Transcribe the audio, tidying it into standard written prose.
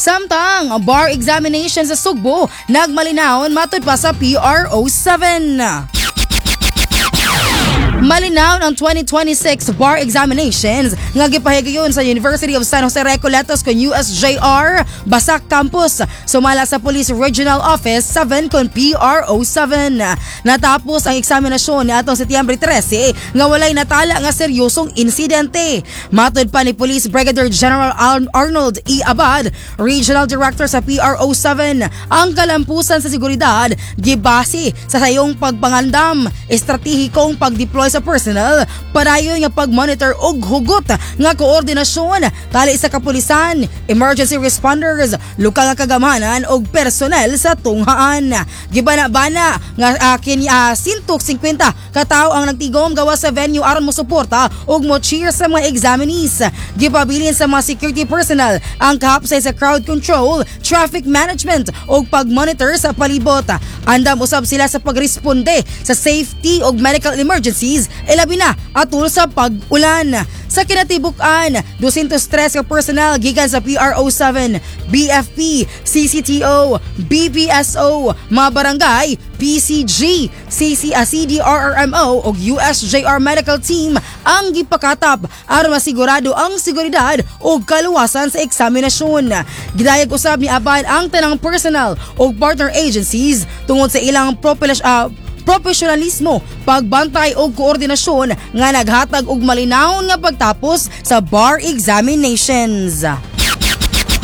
Samtang ang bar examination sa Sugbo nagmalinawon matud pa sa PRO7. Malinaw ang 2026 bar examinations nga gipahigayon sa University of San Jose Recoletos kon USJR Basak Campus, sumala sa Police Regional Office 7 kon PRO7. Natapos ang eksaminasyon niadtong Setyembre 13 nga walay natala nga seryosong insidente. Matod pa ni Police Brigadier General Arnold E. Abad, Regional Director sa PRO7, ang kalampusan sa seguridad gibase sa sayong pagpangandam, estratehikong pag-deploy sa personnel, padayon nga pag-monitor og hugot nga koordinasyon tali sa kapulisan, emergency responders, lokal nga kagamhanan og personnel sa tunghaan. Gibana-bana nga kini 150 ka tawo ang nagtigom gawas sa venue aron mo suporta ug mo cheer sa mga examinees. Gipabilin sa mga security personnel ang kahapsay sa crowd control, traffic management ug pag-monitor sa palibot. Andam usab sila sa pagresponde sa safety ug medical emergencies, ilabi na atul sa pag-ulan. Sa kinatibuk-an, 203 ka personnel gikan sa PRO7, BFP, CCTO, BPSO, mga barangay, PCG, CC, CDRRMO ug USJR Medical Team ang gipakatap aron masigurado ang seguridad ug kaluwasan sa eksaminasyon. Gidayag usab ni Abad ang tanang personnel ug partner agencies tungod sa ilang profesionalismo, pagbantay og koordinasyon nga naghatag og malinawon nga pagtapos sa bar examinations.